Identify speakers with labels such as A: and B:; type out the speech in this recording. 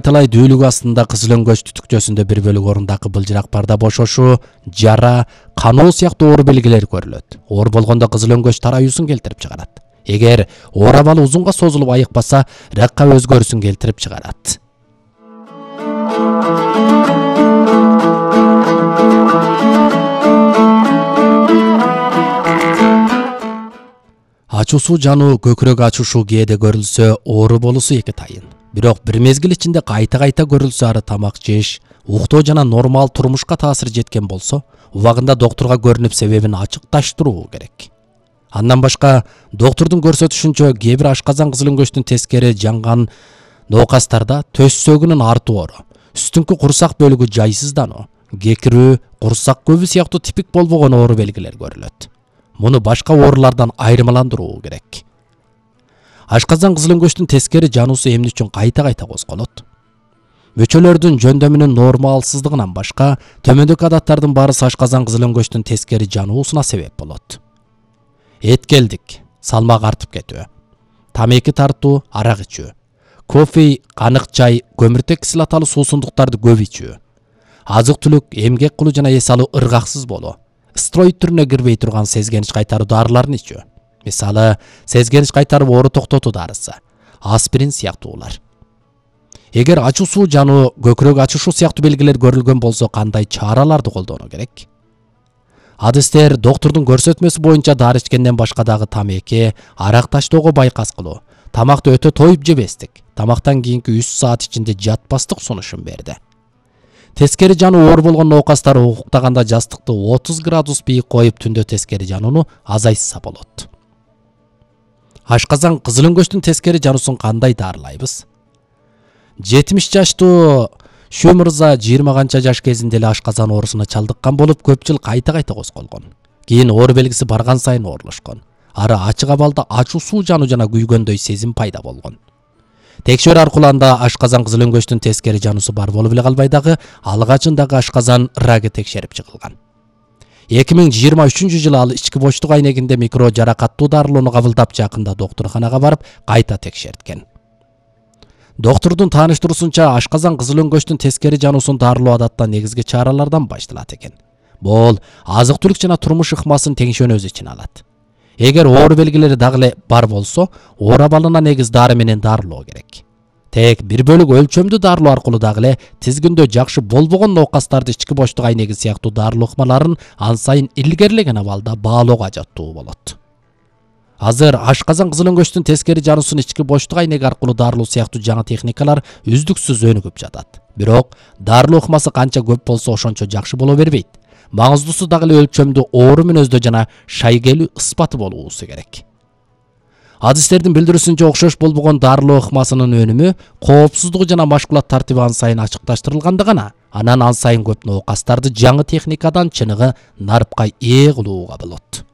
A: Канталай дүүлүк астында кызыл-өңгөч түтүкчөсүндө бир бөлүк орундагы былжырак барда бошошу, жара, каноо сыяктуу оор белгилер көрүлөт. Оор болгондо кызыл-өңгөч тараюусун келтирип чыгарат. Эгер оор абалы узунга созулуп айыкпаса, ракка өзгөрүүсүн келтирип чыгарат. Ачуусу жануу көкүрөк ачушу кээде көрүлсө, оору болуусу эки тайын. Бирок бир мезгил ичинде кайта көрүлсө, ары тамак жеш, уктоо жана нормал турмушка таасир жеткен болсо, убагында доктурга көрүнүп себебин ачыкташтыруу керек. Андан башка, доктурдун көрсөтүшүнчө, кээ бир ашказан кызыл-өңгөчтүн тескери жанган ноокастарда төс сөгүнүн артуу оору, үстүңкү курсак бөлүгү жайсыздануу, кекирүү, курсак көбү сыяктуу типик болбогон оору белгилер көрүлөт. Муну башка оорулардан айырмаландыруу керек. Ашказан кызыл-өңгөчтүн тескери жануусу эмне үчүн кайта козголот? Мөчөлөрдүн жөндөмүнүн нормалсыздыгынан башка, төмөндөгү адаттардын баарысы ашказан кызыл-өңгөчтүн тескери жануусуна себеп болот. Эткелдик, салмак артып кетүү, тамеки тартуу, арак ичүү, кофе, канык чай, көмүртек кислоталуу суусундуктарды көп ичүү, азык-түлүк, эмгек кылуу жана эс алуу ыргаксыз болуу, стероид түрүнө кирбей турган сезгенич кайтаруу дарыларын ичүү. Мисалы, сезгенич кайтарып оору токтотуу дарысы, аспирин сыяктуулар. Эгер ачуусу жануу, көкүрөк ачышу сыяктуу белгилер көрүлгөн болсо, кандай чараларды колдонуу керек? Адистер доктурдун көрсөтмөсү боюнча дары ичкенден башка дагы тамеки, арак таштоого байкас кылуу, тамакты өтө тоюп жебестик, тамактан кийинки 3 саат ичинде жатпастык сунушун берди. Тескери жануу оор болгон ноокастар уктаганда жастыкты 30 градус бийик коюп, түндө тескери жанууну азайтса болот. Ашказан кызыл-өңгөчтүн тескери жануусун кандай дарылайбыз? 70 жаштуу Шө мырза 20 канча жаш кезинде эле ашказан оорусуна чалдыккан болуп, көп жыл кайта козголгон. Кийин оору белгиси барган сайын оорлошкон. Ары ачык абалда ачуусу жануу жана күйгөндөй сезим пайда болгон. Текшерүү аркылуу анда ашказан кызыл-өңгөчтүн тескери жануусу бар болуп эле калбай дагы, алгачындагы ашказан рагы текшерип чыгылган. 2023 жылы ал ички боштук айнегинде микро жаракаттуу дарылоону кабылдап, жакында доктурханага барып кайта текшерткен. Доктурдун тааныштыруусунча, ашказан кызыл-өңгөчтүн тескери жануусун дарылоо адатта негизги чаралардан башталат экен. Бул азык-түлүк жана турмуш ыкмасын теңшөөнү өз ичине алат. Эгер оору белгилери дагы эле бар болсо, оор абалына негиз дары менен дарылоо керек. Тек бир бөлүк өлчөмдүү дарылоо аркылуу дагы эле тизгиндөө жакшы болбогон ноокастарды ички боштук айнеги сыяктуу дарылоо ыкмаларын ан сайын илгерилеген абалда баалоого ажаттуу болот. Азыр ашказан кызыл-өңгөчтүн тескери жануусун ички боштук айнеги аркылуу дарылоо сыяктуу жаңы техникалар үздүксүз өнүгүп жатат. Бирок дарылоо ыкмасы канча көп болсо, ошончо жакшы боло бербейт. Маңыздуусу дагы эле өлчөмдүү оору мүнөздө жана шайгелүү ыспаты болуусу керек. Адистердин билдирүүсүнчө, окшош болбогон дарылоо ыкмасынын өнүмү, коопсуздугу жана машгулат тартиби ан сайын ачыкташтырылганда гана, анан ан сайын көп ноокастарды жаңы техникадан чыныгы нарпка ээ кылууга болот.